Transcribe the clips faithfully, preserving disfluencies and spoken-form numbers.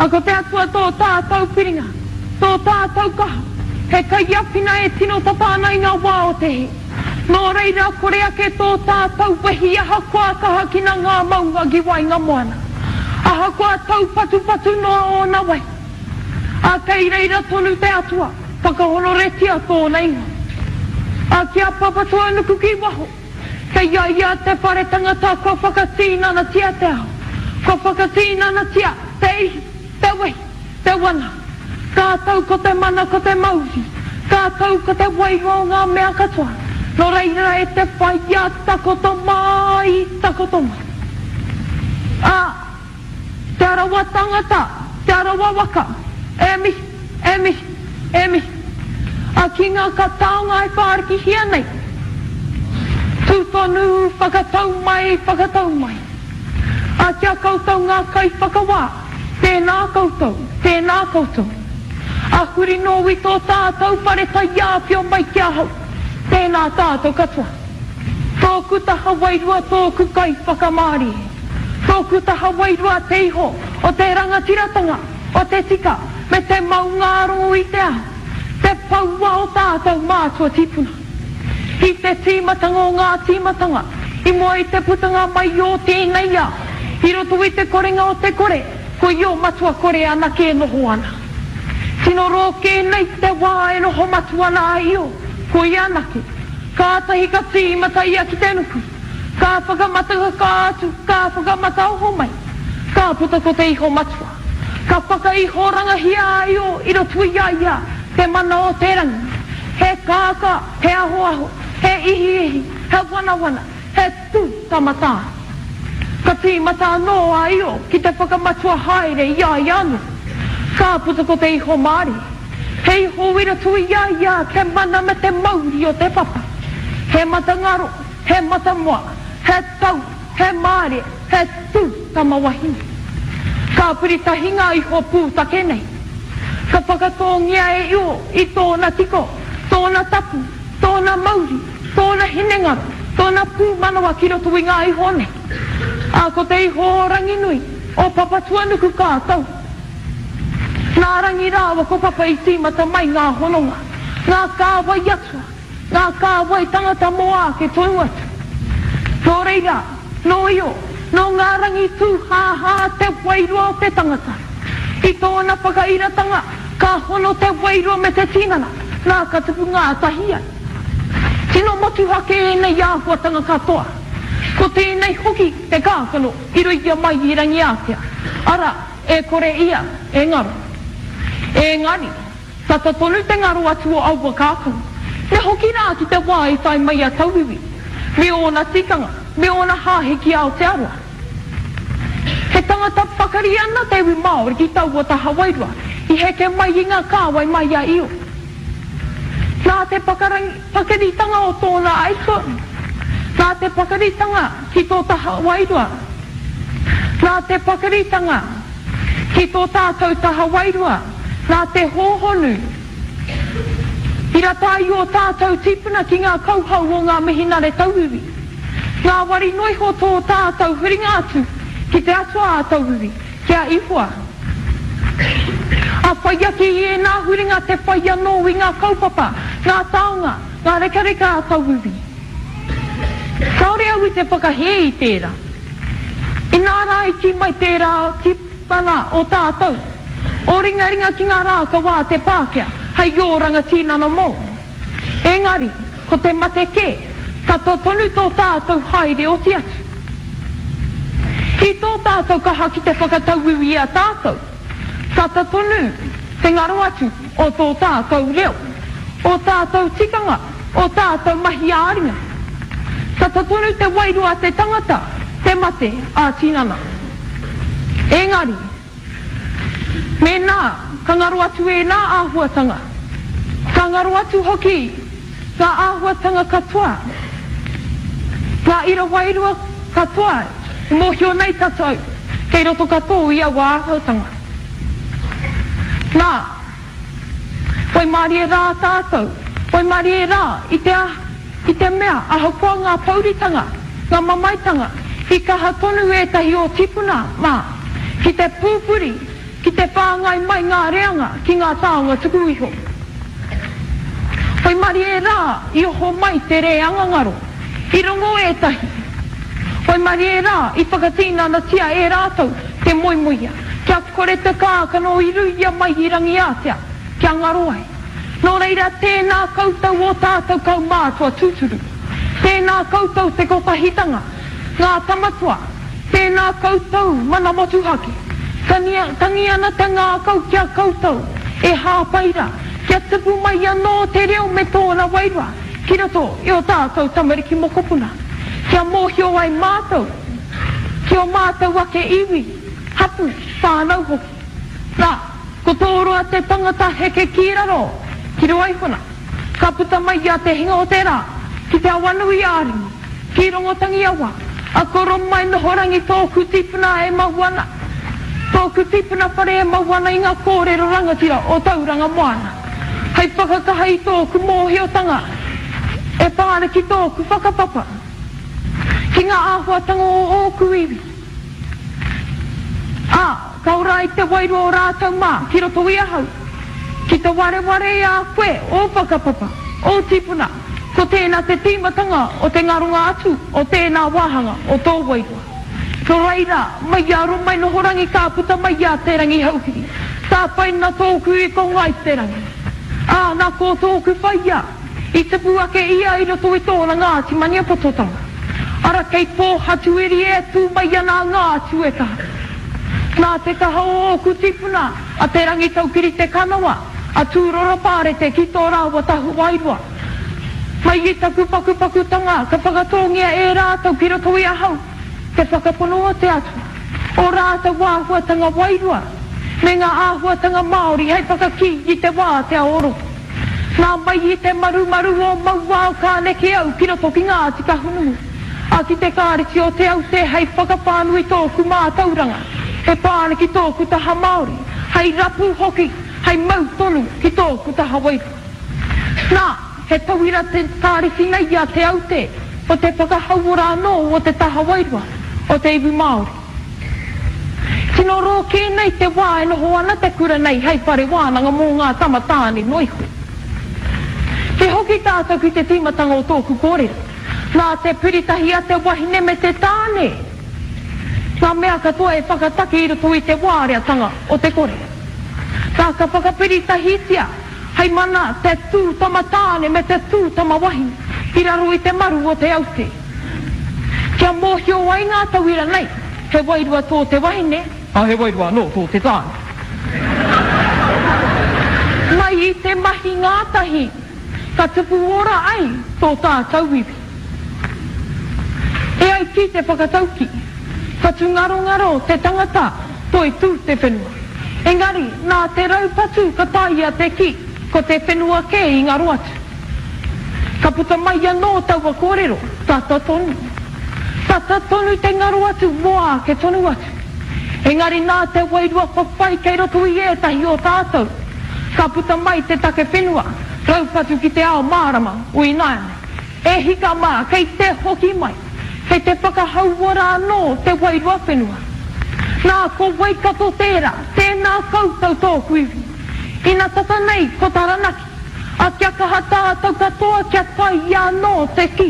A ko te Atua tō tātou piringa, tō tātou kaha, he kaiāwhina e tino tata ana i ngā wā o te hē. Nō reira, kore ake tō tātou wehi ahakoa kahakina ngā maunga ki waenga moana, ahakoa taupatupatu noa ōna wai. A kei reira tonu te Atua, whakahonoretia tōna ingoa. A ki a Papatūānuku ki waho, kei a ia te whare tangata kua whakatīnanatia te ao, kua whakatīnanatia te ihi, te wehi, te wana. Ka tau ko te mana, ko te mauri, ka tau ko te wairua o ngā mea katoa. Nō reira e te whaia, takoto mai, takoto mai. A, Te Arawa tangata, Te Arawa waka, e mihi, e mihi, e mihi. A ki ngā ka taonga e whārikihia nei, tū tonu, whakatau mai, whakatau mai. A ki a koutou ngā kaiwhakawā, tēnā koutou, tēnā koutou. A huri nō i tō tātou whare taiāwhio mai ki ahau, tēnā tātou katoa. Tōku taha wairua tōku kaiwhakamārie. Tōku taha wairua te iho o te rangatiratanga, o te tika, me te maungārongo i te ao, te poua o tātou mātua tīpuna. I te tīmatanga o ngā tīmatanga, i mua i te putanga mai o tēnei ao, i roto i te korenga o te kore, ko Io Matua Kore anake e noho ana. Tino rōkē nei te wā e noho matua ana a Io, ko ia anake. Kātahi ka tīmata ia ki te nuku. Ka whakamatakaka atu, ka whakamataoho mai. Ka puta ko te iho matua. Ka whakaihorangahia a Io i roto i a ia te mana o te rangi. He kākā, he ahoaho, he ihiihi, he wanawana, he tū tama tā. Ka tīmata anō a Io ki te whakamatua haere i a ia anō. Ka puta ko te iho mārie. He iho i roto i a ia te mana me te mauri o te papa. He mata ngaro, he mata moa, he tau, he mārie, he tū tama wahine. Ka piri tahi ngā iho pūtake nei. Ka whakatōngia e Io i tōna kiko, tōna tapu, tōna mauri, tōna hinengaro, tōna pūmanawa ki roto i ngā iho nei. Ā, ko te iho o Ranginui, o Papatuanuku ka tau. Nā Rangi rāua ko Papa i tīmata mai ngā hononga, ngā kāwai atua, ngā kāwai tangata mō āke tonu atu. Nō reira, nō Io, nō ngā rangi tūhāhā te wairua o te tangata. I tōna whakairatanga, ka hono te wairua me te tinana, nā ka tupu ngātahi ai. Tino motuhake ēnei āhuatanga katoa. Ko tēnei hoki te kākano i ruia mai i Rangiātea, arā, e kore ia e ngaro. Engari, tata tonu te ngaro atu o aua kākano. Me hoki rā ki te wā i tae mai a tauiwi, me ōna tikanga, me ōna hāhi ki Aotearoa. He tangata pakari ana te iwi Māori ki taua taha wairua, i heke mai i ngā kāwai mai a Io. Nā te pakaritanga o tōna aituā, nā te pakaritanga ki tō taha wairua, nā te pakaritanga ki tō tātou taha wairua, nā te hōhonu i rata ai ō tātou tīpuna ki ngā kauhau o ngā mihinare tauiwi. Ngāwari noa iho tō tātou huringa atu ki te atua a tauiwi, ki a Ihoa. A whai ake i ēnā huringa te whai anō i ngā kaupapa, ngā taonga, ngā rekareka a tauiwi. Kāore au i te whakahē i tērā. Inā rā i kī mai tērā tīpuna o tātou, o ringaringa ki ngā rākau a te Pākehā hei oranga tinana mōu. Engari, ko te mate kē, tata tonu tō tātou haere oti atu. I tō tātou kaha ki te whakatauiwi i a tātou, tata tonu te ngaro atu o tō tātou reo, o tātou tikanga, o tātou mahi ā-ringa. Tata tonu te wairua a te tangata te mate ā-tinana. Engari, mēnā ka ngaro atu ēnā āhuatanga, ka ngaro atu hoki ngā āhuatanga katoa, ngā ira wairua katoa i mōhio nei tātou kei roto katoa i aua āhuatanga. Nā, waimarie rā tātou, waimarie rā i te, i te mea ahakoa ngā pouritanga, ngā mamaetanga, i kaha tonu ētahi o tīpuna mā ki te pūpuri, ki te whāngai mai ngā reanga ki ngā taonga tuku iho. Waimarie rā i oho mai te reanga ngaro, i rongo ētahi. Waimarie rā i whakatinanatia e rātou te moemoeā, kia kore te kākano i ruia mai i Rangiātea, kia ngaro ai. Nō reira, tēnā koutou ō tātou kaumātua tūturu. Tēnā koutou te kotahitanga, ngā tamatoa, tēnā koutou mana motuhake. Tangi ana te ngākau ki a koutou e hāpai rā, kia tupu mai anō te reo me tōna wairua ki roto i ō tātou tamariki mokopuna, kia mōhio ai mātou ki ō mātou ake iwi, hapū, whānau hoki. Nā, ko Tōroa te tangata heke ki raro, ki Ruaihona, ka puta mai i a Te Hinga o te Rā, ki Te Awanui-ā-Rangi, ki Rongotangiawa, a Koromai Nohorangi tōku tipuna e mau ana, tōku tipuna whare e mau ana i ngā kōrero rangatira o Tauranga Moana, hei whakakaha i tōku mōhiotanga e pā ana ki tōku whakapapa, ki ngā āhuatanga o ōku iwi. Ā, ka ora ai te wairua o rātou mā ki roto i ahau, ki te wareware i a koe ō whakapapa, ō tīpuna, ko tēnā te tīmatanga o te ngaronga atu o tēnā wāhanga o tō wairua. Nō reira, mai i a Romainohorangi ka puta mai i a Te Rangihouhiri, tāpaina tōku i ko Ngāi Te Rangi. Ā, nā ko tōku whaia, i tupu ake ia i roto i tōna Ngāti Maniapototanga. Ara kei Pōhatuiri e tū mai ana a Ngāti Uetaha. Nā te kaha o ōku tīpuna, a Te Rangitaukiri Te Kanawa, a Tūroro Pārete ki tō rāua tahu wairua. Mai i taku pakupakutanga ka whakatōngia e rātou ki roto i ahau te whakapono o te Atua, ō rātou āhuatanga wairua, me ngā āhuatanga Māori hei whakakī i te wātea o roto. Nā mai i te marumaru o Mauao ka neke au ki roto ki Ngāti Kahungunu, ā, ki te Kāreti o Te Aute hei whakawhānui tōku mātauranga e pā ana ki tōku taha Māori, hei rapu hoki, hei mau tonu ki tōku taha wairua. Nā, he tauira te kāreti nei a Te Aute o te whakahauora anō o te taha wairua o te iwi Māori. Tino roa kē nei te wā e noho ana te kura nei hei whare wānanga mō ngā tama tāne noa iho. Ki hoki tātou ki te tīmatanga o tōku kōrero, nā te piritahi a te wahine me te tāne ngā mea katoa e whakataki i roto i te wāreatanga o te kore. Nā ka whakapiritahitia hei mana te tū tama tāne me te tū tama wahine i raro i te maru o te aute. Kia mōhio ai ngā tauira nei, he wairua tō te wahine, ā, he wairua anō tō te tāne. Mai i te mahi ngātahi, ka tupu ora ai tō tātou iwi. E ai ki te whakataukī, Whatungarongaro te tangata, toitū te whenua. Engari, nā te raupatu ka taea te kī, ko te whenua kē i ngaro atu. Ka puta mai anō taua kōrero, tata tonu. Tata tonu te ngaro atu mō āke tonu atu. Engari nā te wairua whawhai kei roto i ētahi o tātou, ka puta mai te take whenua, raupatu ki te ao mārama o ināianei. E hika mā, kei te hoki mai, kei te whakahauora anō te wairua whenua. Nā, ko Waikato tērā, tēnā koutou tōku iwi. Ina tata nei ko Taranaki, a kia kaha tātou katoa kia tae ia anō te kī.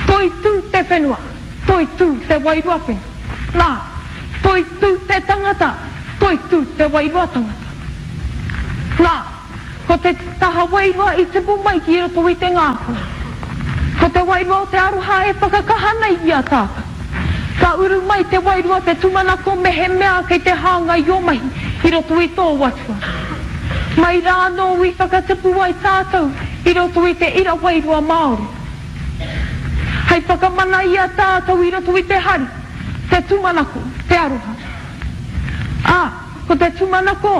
Toitū te whenua, toitū te wairua whenua. Nā, toitū te tangata, toitū te wairua tangata. Nā, ko te taha wairua i tipu mai ki roto i te ngākau. Ko te wairua o te aroha e whakakaha nei i a tātou. Ka uru mai te wairua te tūmanako mehemea kei te hāngai ō mahi i roto i tō Atua. Mai rā anō i whakatipu ai tātou i roto i te ira wairua Māori. Hei whakamana i a tātou i roto i te hari, te tūmanako, te aroha. Ā, ko te tūmanako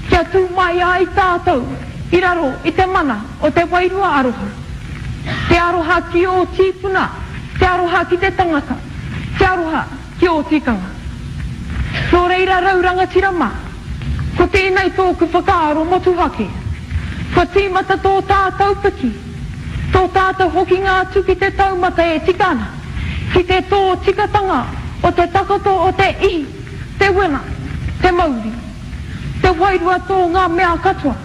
kia tū mai ai tātou i raro i te mana o te wairua aroha. Te aroha ki ō tīpuna, te aroha ki te tangata, te aroha ki ō tikanga. Nō reira rau rangatira mā, ko tēnei tōku whakaaro motuhake. Kua tīmata tō tātou piki, tō tātou hokinga atu ki te taumata e tika ana, ki te tōtikatanga o te takoto o te ihi, te wena, te mauri. Te wairua tō ngā mea katoa.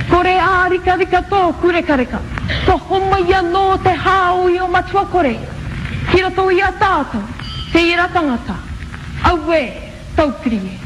Kore ārikarika tōku rekareka, kua homai anō te hā o Io Matua Kore ki roto i a tātou, te ira tangata. Auē, taupiri e.